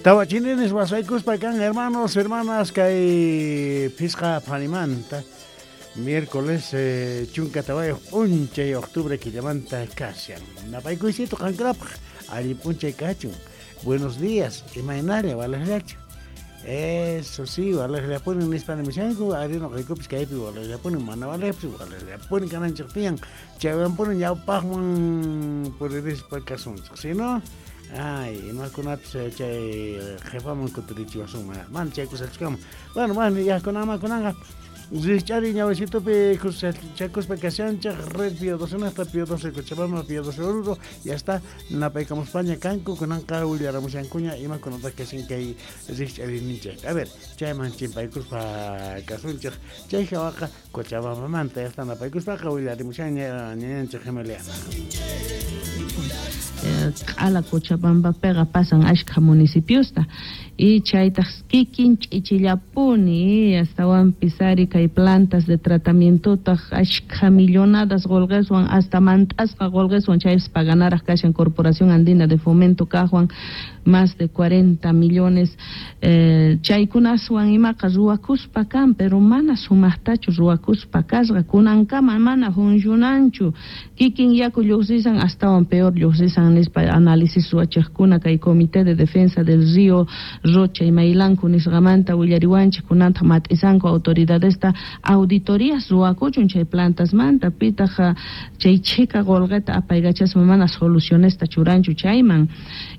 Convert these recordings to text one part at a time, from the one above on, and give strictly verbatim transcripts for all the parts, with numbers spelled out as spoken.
Tawa chininis wasaykuspa kan, hermanos, hermanas, kay phisqa phanimanta miércoles eh, chunka tawayuq p'unchay octubre killamanta kashan. Napaykuysito qankunapaq allin p'unchay kachun. Buenos días, imaynalla walaqllachu. Eso sí, walaqllapuni nispa nimushanku, ari nuqaykupis kaypi walaqllapuni, mana walaqpis walaqllapuni kananchik tiyan. Chaywanpuni ñawpaqman puririspa kasunchik, si no? Ay, imakunapis chay qhipaman kutirichiwasunman, mana chay kusachikaman. Bueno, bueno, ya kunanman kunanqa Rikch'ari ñawisitupi chakuspa kashanchik red Pío doce naqta Pío doce Cochabamba, Pío doce Oruro, ya está, napaykamuspaña kanku, kunanqa willaramushankuña imakunataq kashan kay rikch'arininchik. A ver, chayman chimpaykuspa kasunchik, chay hawaqa Cochabambamanta ya está napaykuspaqa willarimushanña ñañanchik Gemeliana. Q'ala Cochabambapiqa pasan ashkha municipiosta y chaytaq kikin ch'ichillapuni astawanpis ari kay plantas de tratamientotaq ashkha millonadas qolqeswan hasta mant'asqa qolqeswan chaypis paganaraq kashan Corporación Andina de Fomento kaqwan más de cuarenta millones eh, chaykunaswan imaqa ruwakuspa kan, pero mana sumaqtachu ruwakuspa kasqa kunankama mana funcionanchu kikin yaku lluqsisan astawan peor lluqsisan nispa análisis ruwachiqkuna kay Comité de Defensa del Río Rocha y Mailanku nisqamanta willariwanchik kunanta mat'isanku autoridadesta auditorías ruwakuchun chay plantasmanta pitaq chay chhika qolqeta apaykachaspa mana solucionesta churanchu chayman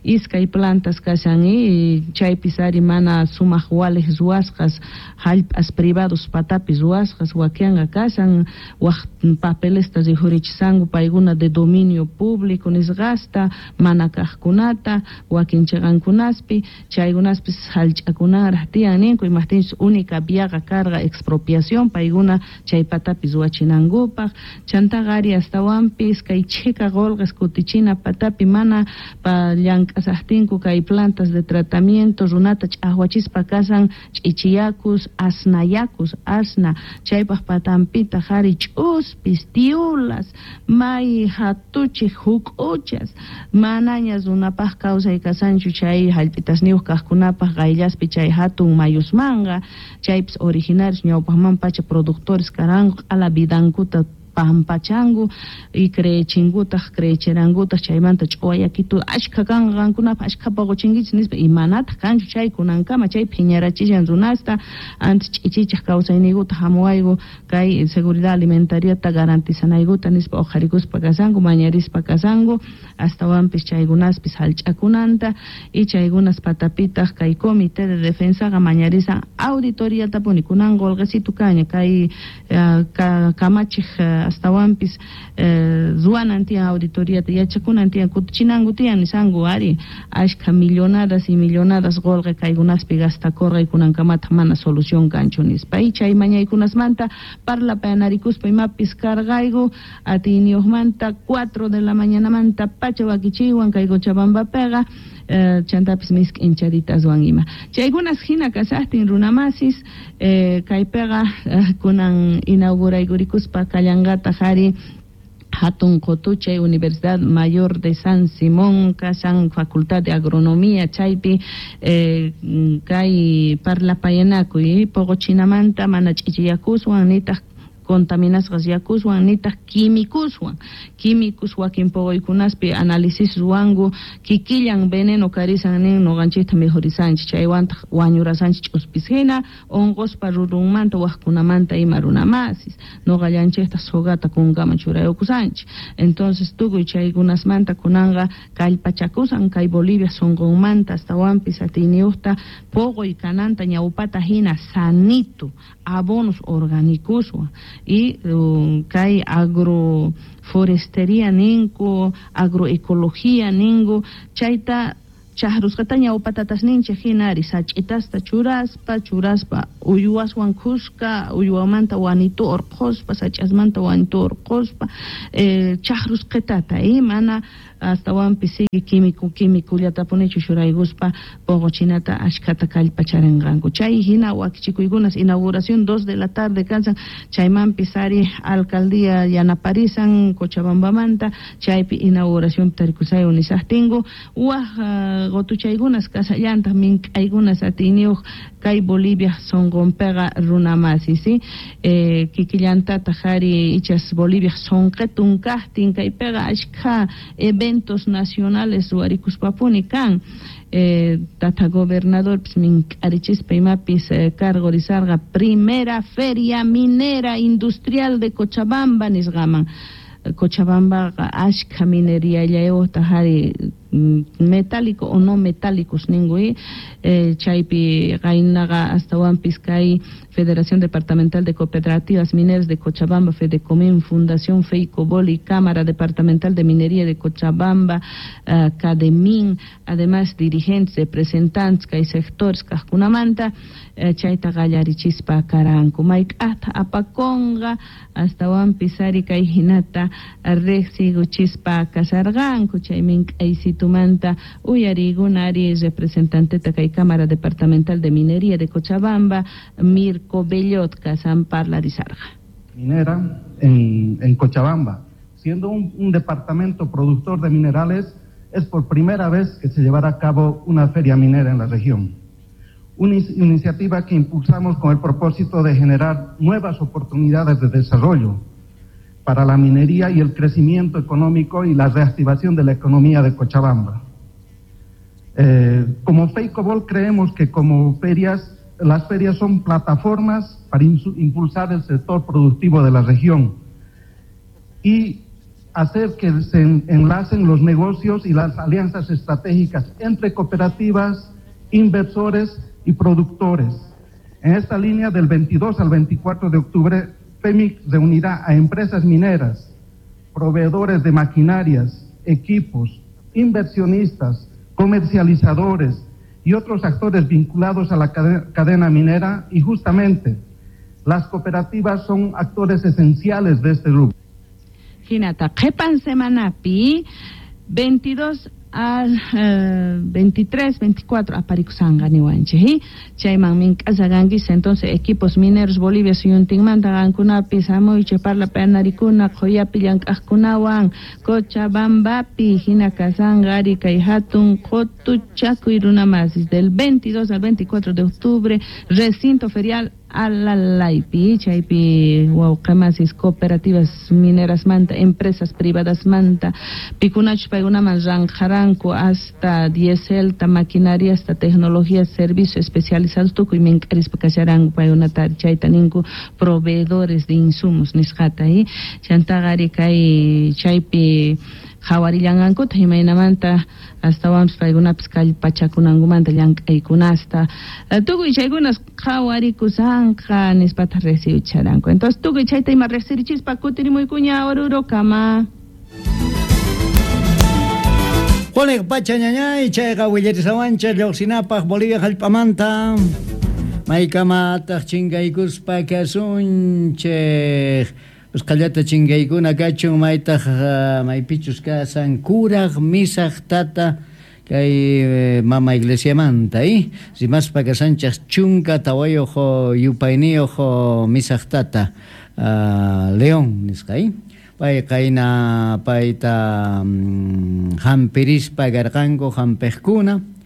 iskay plantas kashan y chaypis ari mana sumaq waliq ruwasqas hallp'as privados patapi ruwasqas wakinqa kashan waq papelesta rikhurichisanku paykuna de dominio público nisqasta mana kaqkunata wakin chiqankunaspi chaykunaspis hallch'akunaraq tiyan ninku imaqtinchus única viaqa karqa expropiación paykuna chay patapi ruwachinankupaq chantaqa ari astawanpis kay chhika qolqes kutichina patapi mana pa llank'asaqtinku kay plantas de tratamiento runata ch'aqwachispa kasan ch'ichiyakus asnayakus asna chaypaq patanpitaq ari ch'uspis tiulas may hatuchiq huk'uchas manaña runapaq kawsay kasanchu chay hallp'itasniyuq kaqkunapaq qayllaspi chay hatun mayusmanqa chaypis originarios ñawpaqman pacha productores karanku q'ala vidankuta pampachanku y creechinkutaq creecherankutaq chaymanta ch'uwayakitu ashkha kanqa qankunapaq ashkha poqochinkichis nispa y manataq kanchu chay kunankama chay phiñarachishan runasta antes ch'ichichaq kawsayniykuta hamuwayku kay seguridad alimentariata garantizanaykuta nispa uqharikuspa kasanku mañarispa kasanku astawanpis chaykunaspis hallch'akunanta y chaykunas patapitaq kay comité de defensaqa mañarisan auditoriatapuni kunan qolqesitu kaña kay uh, ka, kamachiq uh, astawanpis eh, ruwanan tiyan auditoriata yachakunan tiyan kutichinanku tiyan nisanku ari ashkha millonadas y millonadas qolqe kaykunaspi gastakurqa kunankamataq mana solución kanchu nispa y chay mañaykunasmanta parlapayanarikuspa imapis karqayku atiyniyuqmanta cuatro de la mañanamanta pacha wakichiywan kay Cochabambapiqa eh, chantapis misk'incharitaswan ima chaykunas hina kasaqtin runamasis eh, kaypiqa eh, kunan inauguraykurikuspa kallanqataq ari hatun qotuchay Universidad Mayor de San Simón kashan Facultad de Agronomía chaypi eh, kay parlapayanakuy poqochinamanta mana ch'ichiyakuswan nitaq contaminasqas yakuswan nitaq químicoswan químicos wakin poqoykunaspi análisis ruwanku kikillan veneno karisan nin nuqanchikta mikhurisanchik chaywantaq wañurasanchik ch'uspis hina unquspa rurunmanta waqkunamanta ima runamasis nuqallanchiktaq sogata kunkaman churayukusanchik entonces tukuy chaykunasmanta kunanqa kallpachakusan kay Bolivia sunqunmanta astawanpis atiyniyuqta poqoy kananta ñawpata hina sanito abonos orgánicoswan y um, kay agroforestería ninku agroecología ninku chayta chaqrusqata ñawpatatasninchik hina ari sach'itasta churaspa churaspa uywaswan kuska uywamanta wanitu urquspa sach'asmanta wanitu urquspa eh, chaqrusqitata y mana astawanpis sigue químico químicullatapunichu churaykuspa poqochinata ashkhata kallpacharinqanku chay hina wakichikuykunas inauguración dos de la tarde kansan chaymanpis ari alcaldía yanaparisan Cochabambamanta chaypi inauguración tarikusay unisaqtinku waq uh, Qotuchaykunas kasallantaq mink'aykunas atiyniyuq kay Bolivia sonqonpiqa runamasi, ¿sí? Eh, kikillantataq ari ichas Bolivia sonqetun kaqtin kaypiqa ashkha eventos nacionales ruwarikuspapuni kan. Eh, tata gobernador mink'arichispa imapis eh, cargorizarqa primera feria minera industrial de Cochabamba nisqaman. Cochabambaqa ashkha minería ari metálico o no metálicos ninku, eh, chaypi qaynaqa astawanpis kay Federación Departamental de Cooperativas Mineras de Cochabamba, Fedecomín, Fundación Feicobol y Cámara Departamental de Minería de Cochabamba, uh, Cademin, además dirigentes, representantes kay sectores kaqkunamanta eh, chayta qallarichispa karanku. Mayk'aqta apakunqa astawanpis ari kay hinata riqsiykuchispa kasarqanku chay mink'aysitumanta uyariykuna ari representanteta kay Cámara Departamental de Minería de Cochabamba, Mirko Bellot kasan parlarisarqa. Minera en, en Cochabamba, siendo un, un departamento productor de minerales, es por primera vez que se llevará a cabo una feria minera en la región. Una iniciativa que impulsamos con el propósito de generar nuevas oportunidades de desarrollo para la minería y el crecimiento económico y la reactivación de la economía de Cochabamba. Eh, como FEICOBOL creemos que como ferias, las ferias son plataformas para impulsar el sector productivo de la región y hacer que se enlacen los negocios y las alianzas estratégicas entre cooperativas, inversores y productores. En esta línea, del veintidós al veinticuatro de octubre, FEMIC reunirá a empresas mineras, proveedores de maquinarias, equipos, inversionistas, comercializadores y otros actores vinculados a la cadena minera, y justamente las cooperativas son actores esenciales de este grupo. Hinata, qhipan semanapi veintidós al eh, veintitrés, veinticuatro aparikusanga niwanchik, chayman mink'asaqankis. Entonces equipos mineros Bolivia suyuntinmanta qankunapis hamuychik parlapanarikuna qhuyapi llank'aqkunawan Cochabambapi hina kasanqa ari kay hatun qutuchakuy runamasis del veintidós al veinticuatro de octubre, recinto ferial Alalaypi, chaypi wawqimasis cooperativas mineras manta, empresas privadas manta, pikunachus paykunaman ranqaranku hasta dieselta, maquinaria, hasta tecnología, servicio especializados tukuy mink'arispa kasharanku paykunata chayta ninku proveedores de insumos nisqata, chantaqa ari kay chaypi qhawarillanqankuta imaynamanta astawanpis paykunapis kallpachakunankumanta llank'aykunasta tukuy chaykunas qhawarikusanqa nispata riqsiwicharanku. Entonces tukuy chayta ima riqsirichispa kutirimuykuña Orurokama. Juanek pacha ñañay chayqa willarisawancha lluqsinapaq Bolivia hallp'amanta maykamataq chinkaykuspa kasunchik. Usqallata chinkaykuna kachun maytaq maypichus kasan kuraq misaq tata kay mama iglesiamanta, eh? Rimaspa kasanchaq chunka tawayuq yupayniyuq misaq tata uh, León nisqa, eh? Pay qayna payta um, hampirispa karqanku hampiqkuna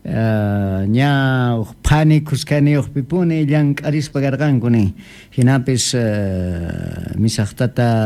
Uh, ña phani kuskaniyuqpipuni llank'arispa karqanku nin hinapis uh, misaq tata